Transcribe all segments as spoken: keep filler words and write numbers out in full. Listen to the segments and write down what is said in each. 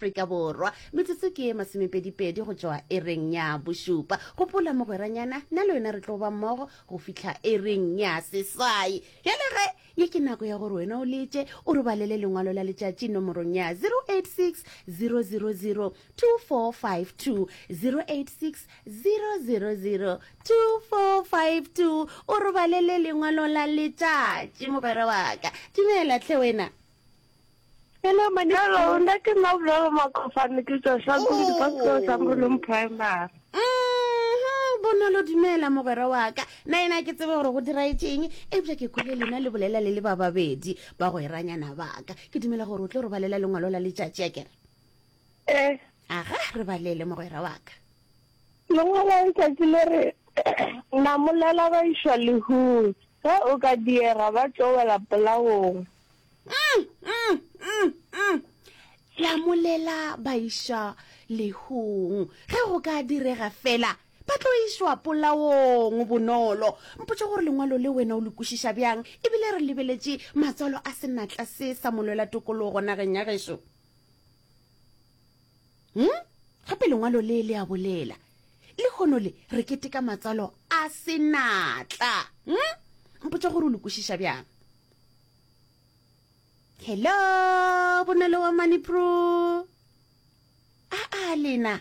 Afrika Borwa. Metsotso ke ye masomepedipedi go tšwa ereng ya bošupa. Gopola mogweranyana, nna le wena re tlo ba mmogo go fihla ereng ya seswai. Bjale ge, ye ke nako ya gore wena o letše o re balele lengwalo la letšatši nomorong ya zero eight six zero zero zero two four five two, zero eight six zero zero zero two four five two. O re balele lengwalo la letšatši mogwera wa ka. Dumela hle wena. Hello, Mani. Hello, nna ke nna Bonolo Makofane, ke tswa Shankulu, Oh. Department sa Morolong Primary. Mhm, Bonolo, dumela mogwera wa ka. Nna yena ke tsebe gore go diraetšeng, eupša ke kwele lena le bolela le le ba babedi bagweranyana ba ka. Ke dumela gore o tlo re balela lengwalo la letšatši, a kere? Eh. Aga, re balele mogwera wa ka. Lengwalo la letšatši le re, Namolela ba išwa lehung, ge o ka diega ba tlo wela polaong. Mm, mm, mm, mm. Lamolela ba išwa lehung, ge go ka direga fela ba tlo išwa polaong. Bonolo, mpotše gore lengwalo le wena o le kwešiša bjang, ebile re lebeletše matswalo a senatla se sa molwela tokologo nageng ya gešo. Hmm? Gape lengwalo le le a bolela, lehono le re keteka matswalo a senatla. Hmm? Mpotše gore o le kwešiša bjang. Hello, Bonolo wa Manipro. A a lena.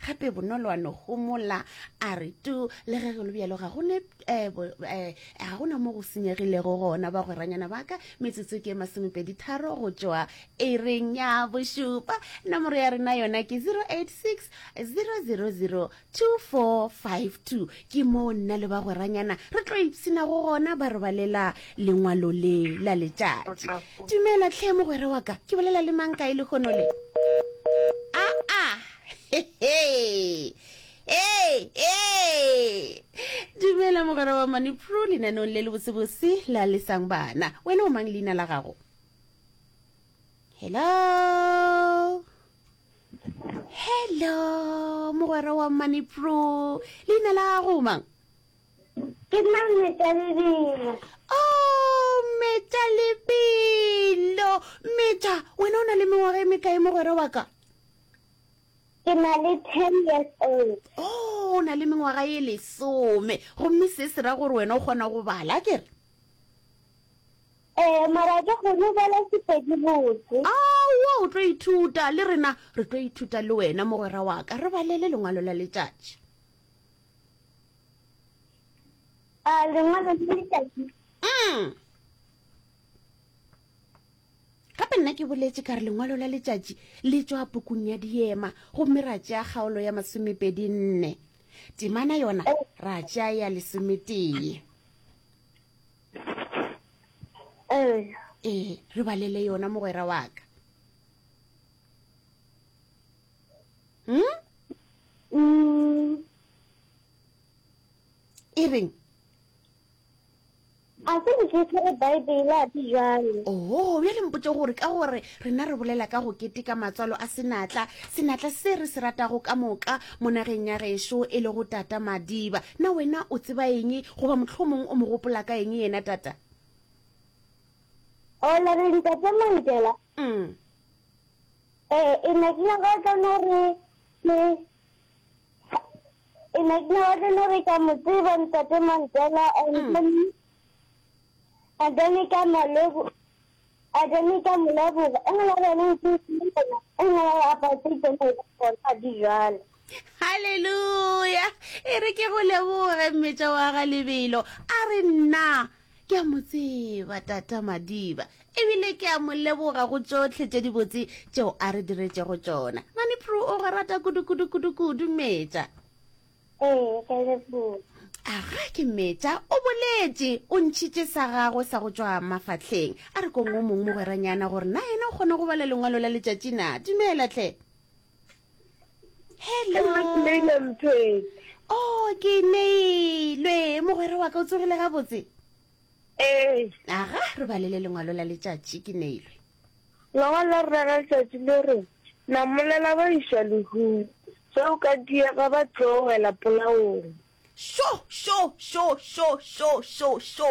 Gape Bonolo wa no homola a re tu, le ge go le bjalo ga go ne, eh, bo, eh, ga gona mo go senyegilego gona bagweranyana ba ka. Metsotso ke masomepedi tharo go tšwa ereng ya bošupa. Nomoro ya rena yona ke zero eight six zero zero zero two four five two. Ke moo nna le bagweranyana re tlo ipshina go gona ba re balela lengwalo le la letšatši. Dumela tlhe mogwera wa ka, ke bolela le mang kae lehono le? A a. Hey, hey, hey. Dumela mogwera wa Manipro lenaneong le le botsebotse la Lesang Bana. Wena o mang leina la gago? Hello. Hello, mogwera wa Manipro. Leina la gago mang? Ke nna Mmetša Lebelo. Oh, Mmetša Lebelo. Mmetša, wena o na le mengwaga e mekae mogwera wa ka? Ke na le ten years old. Oh, o na le mengwaga e lesome. Gomme se se ra gore wena o kgona go bala, kere? Eh, mara ke kgone go bala Sepedi botse. Aowa, o tlo ithuta le rena, re tlo ithuta le wena mogwera wa ka. Re balele lengwalo la letšatši. A lengwalo la letšatši. Mm. Gape nna ke boletše ka re lengwalo la letšatši le tšwa pukung ya Diema, gomme ra tšea kgaolo ya masomepedi nne. Temana yona ra tšea ya lesometee. Ee. Ee, re balele yona mogwera wa ka. Hmm? Mm. E reng? A se ke tshwere Bible a di jwale. Oh, bjale mpotše gore ka gore rena re bolela ka go keteka matswalo a senatla, senatla se re se ratago ka moka mo nageng ya gešo e lego Tata Madiba. Na wena o tseba eng goba mohlomong o mo gopola ka eng yena Tata? O la re Ntate Mandela? Mm. Eh, e ne ke nyaka go no re ke e ne ke nyaka go no re ka mo tseba Ntate Mandela and Mm. then and then ka mo lebo and then ka mo leboga. E nngwe ya bone ke e nngwe ya apartheid gona di jwale. Hallelujah. E re ke go leboge mmetša wa ga Lebelo. A re nna ke a mo tseba Tata Madiba, ebile ke a mo leboga go tšohle tše dibotse tšeo a re diretšego tšona. Manipro o go rata kudu kudu kudu kudu mmetša. Ee, ke leboga. Aga ke mmetša, o boletše, o ntšhitše sa gagwe sa go tšwa mafahleng. A re kong o mongwe mogweranyana gore na yena o kgona go bala lengwalo la letšatši na. Dumela tlhe. Hello. Ke neile Mpheti. Oh, ke neilwe. Mogwera wa ka o tsogile gabotse? Ee. Aga, re balele lengwalo la letšatši, ke neilwe. Lengwalo la rena la letšatši le re, Namolela ba išwa lehung, ge o ka diega ba tlo wela polaong. Šo, šo, šo, šo, šo, šo, šo.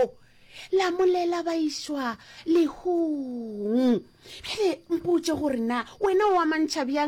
Lamolela ba išwa lehung. Bjale mpotše gore na wena o amantšha bjang